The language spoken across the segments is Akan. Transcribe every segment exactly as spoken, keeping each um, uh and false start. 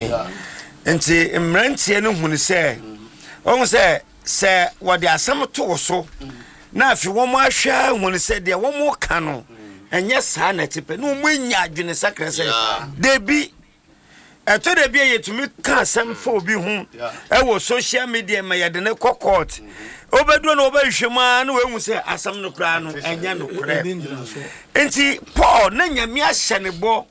Nti mmeranteɛ no hunu sɛ wɔn sɛ sɛ wɔde asɛm to wo so na afei wɔn ahwɛ ahunu sɛ deɛ wɔn ka no ɛnyɛ saa na ɛte pɛ, na wɔn anya adwene sakra sɛ debi ɛtɔ da bi a yɛtumi ka asɛm fa obi ho ɛwɔ social media ma yɛde ne kɔ court, wobɛduro na wɔbɛhwehwɛ mu a na wɔahu sɛ asɛm no koraa no ɛnyɛ nokorɛ. Nti Paul na Nyame ahyɛ ne bɔ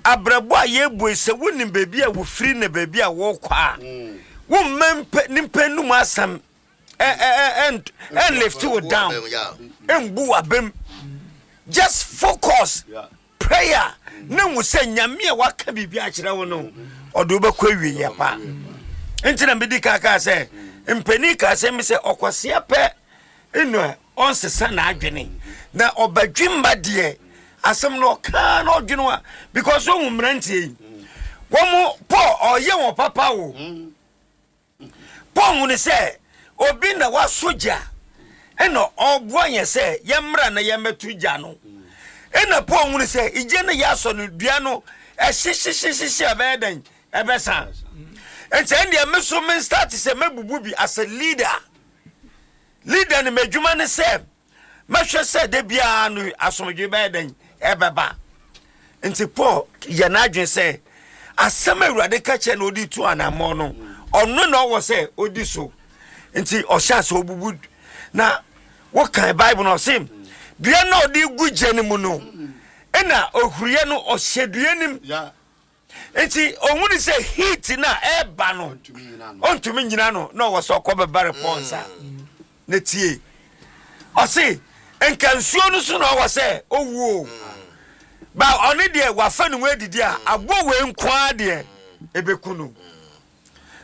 abrabɔ a yɛbue sɛ wonim baabi a wofiri na baabi a wɔkɔ a, womma nipa num asɛm ɛn lift wo down, ɛmbu w'abam. Just focus, prayer, na hu sɛ Nyame a waka biribi akyerɛ wo no, ɔde wobɛkɔ awieyɛ pa. Nti na medi ka kaa sɛ mpanin kaa sɛ mi sɛ ɔkwasea pɛ ɛna ɔnsesa n'adwene na ɔbadwemma deɛ asɛm no ɔkaa na ɔdwene a, because ɔhu mmeranteɛ yi wɔn Paul ɔyɛ wɔn papa o. Paul hu ne sɛ obi na wasɔ gya ɛna ɔboa yɛn sɛ yɛmmra na yɛmmɛto gya no, ɛna Paul hu ne sɛ igya no yɛasɔ no dua no ɛhyehyehyehyehye ɛbɛyɛ dɛn ɛbɛsa. Nti ɛndeɛ me so me start sɛ mɛbubu bi as a leader. Leader no m'adwuma ne sɛ mɛhwɛ sɛ da biara no asomdwe bɛyɛ dɛn ɛbɛba. Nti Paul yɛ n'adwene sɛ asɛm a Awurade ka kyerɛ na ɔde tu anammɔ no, ɔno na ɔwɔ sɛ ɔdi so. Nti ɔhyɛ ase ɔbubu na wokan Bible no, ɔse dua na ɔde gu gya no mu no, ɛna ohuriɛ no ɔhyɛ dua nim. Nti ohun sɛ heat na ɛɛba no ɔntumi nyina no, na ɔwɔ sɛ ɔkɔ bɛbare Paul nsa na tie. Ɔse nka nsuo no so na ɔwɔ sɛ owuo ba, ɔne deɛ wafa ne ho adidi a aboɔ wei nkoa deɛ ɛbɛku no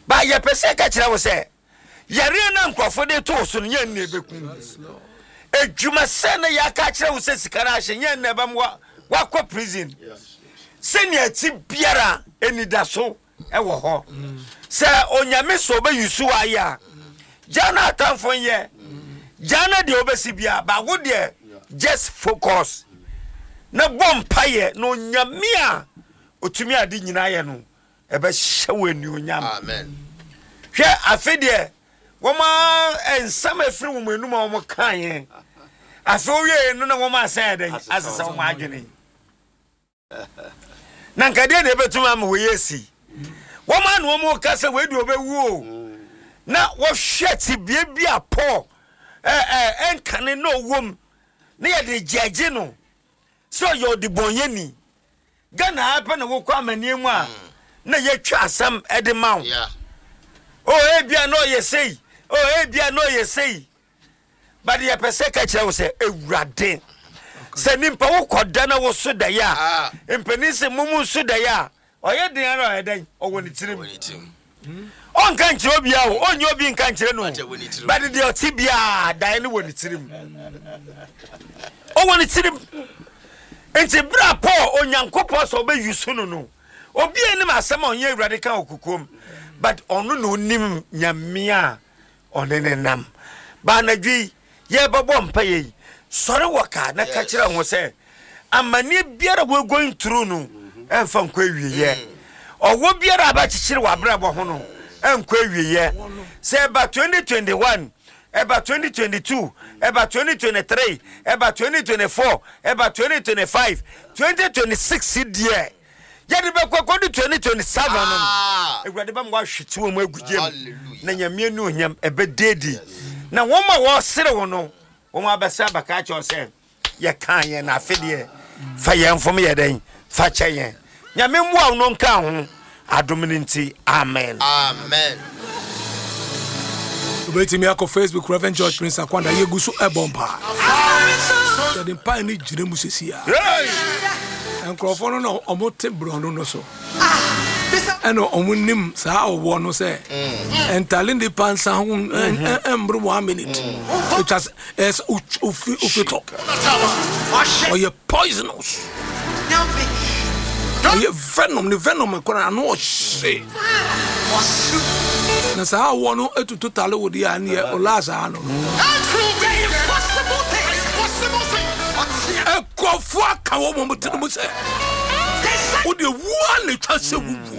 ba. Yɛpɛ sɛ ka kyerɛ wo sɛ yareɛ no nkurɔfo de too so no nyɛ nna ɛbɛku. Edwuma sɛ na yɛaka kyerɛ wo sɛ sika no ahyɛ nyɛ nna ɛbɛm wakɔ prison. Sɛnea ti biara anidaso ɛwɔ hɔ sɛ Onyame sɛ ɔbɛyi ayɛ a, gya no atamfo nyɛ gya no deɛ wobɛsi bia baako deɛ, just focus na bɔ mpayɛ na Onyame a ɔtumi ade nyinaa yɛ no ɛbɛhyɛ wɔ anuonyam. Hwɛ, afe deɛ wɔn a nsɛm afiri wɔn anum a wɔn ka yɛn afe owie no na wɔn asan yɛ dɛn asesa wɔn adwene na nkadeɛ na ebɛtumi ama wɔyɛ esi wɔn a na wɔn ka sɛ wɔadi wɔbɛwu o, na wɔhwɛ tibie bi a Paul ɛɛ ɛɛ ɛnkane na ɔwɔ mu na yɛde gyɛgye no sɛ ɔyɛ ɔdebɔnyɛni. Ghana ha pɛ na wokɔ amanneɛ mu a na yɛtwa asɛm ɛde ma wo. O ebia na ɔyɛ sei, o ebia na ɔyɛ sei, but yɛpɛ sɛ ka kyerɛ wo sɛ Ewurade sɛ nipa wokɔda na woso daeɛ a, mpanin sɛ mumu nso daeɛ a ɔyɛ den ara ɔyɛ dɛn ɔwɔ ne tirim, ɔnka nkyerɛ obiara o, ɔnyɛ obi nka nkyerɛ no, but deɛ ɔte biara daeɛ no wɔ ne tirim, ɔwɔ ne tirim. Nti bere a Paul Onyankopɔn sɛ ɔbɛyi so no no obi anim asɛm a ɔnyɛ Awurade ka wɔ kokoam, but ɔno na onim Nyame a ɔne ne nam. Ba anadwo yi yɛbɛbɔ mpa yɛ yi, sɔre wɔ kaa na ka kyerɛ ho sɛ amanneɛ biara we're going through no ɛmfa nkɔ awieyɛ. Ɔwɔ biara a bɛkyekyere wɔ abrabɔ ho no ɛnkɔ awieyɛ. Sɛ ɛba twenty twenty-one, ɛba twenty twenty-two, ɛba twenty twenty-three, ɛba twenty twenty-four, ɛba twenty twenty-five, twenty twenty-six deɛ yɛde bɛkɔ kɔdu twenty twenty-seven no, Awurade bɛma wahwete wɔ mu agu gyam na Nyame ani onyam ɛbɛdeedi na wɔn a wɔresere wo no wɔn abɛsɛ abɛka akyerɛ sɛ yɛka yɛn na afe deɛ fa yɛn fom yɛ dɛn fa kyɛ yɛn. Nyame mmoa wo no nka ho adom no nti, amen. Amen. Wobɛtumi akɔ Facebook, Reverend George Prince Akwanda. Yɛgu so ɛbɔ mpaa, yɛde mpae no gyina mu sesi a nkurɔfoɔ no na ɔmo te borɔno no so ɛna ɔmo nim saa ɔwɔ no sɛ ɛntale nipa nsa ho ɛmboro one minute ɛtwa sɛ ɛsɛ ofi ofi tɔ. Ɔyɛ poisonous, ɔyɛ venom, ne venom kora ano ɔhye na saa awɔ no etutu tale wo deɛ a neɛ ɔlaa saa no nkurɔfoɔ aka wɔ mɔm tiri mu sɛ wode wua na ɛtwa sɛ wuwu.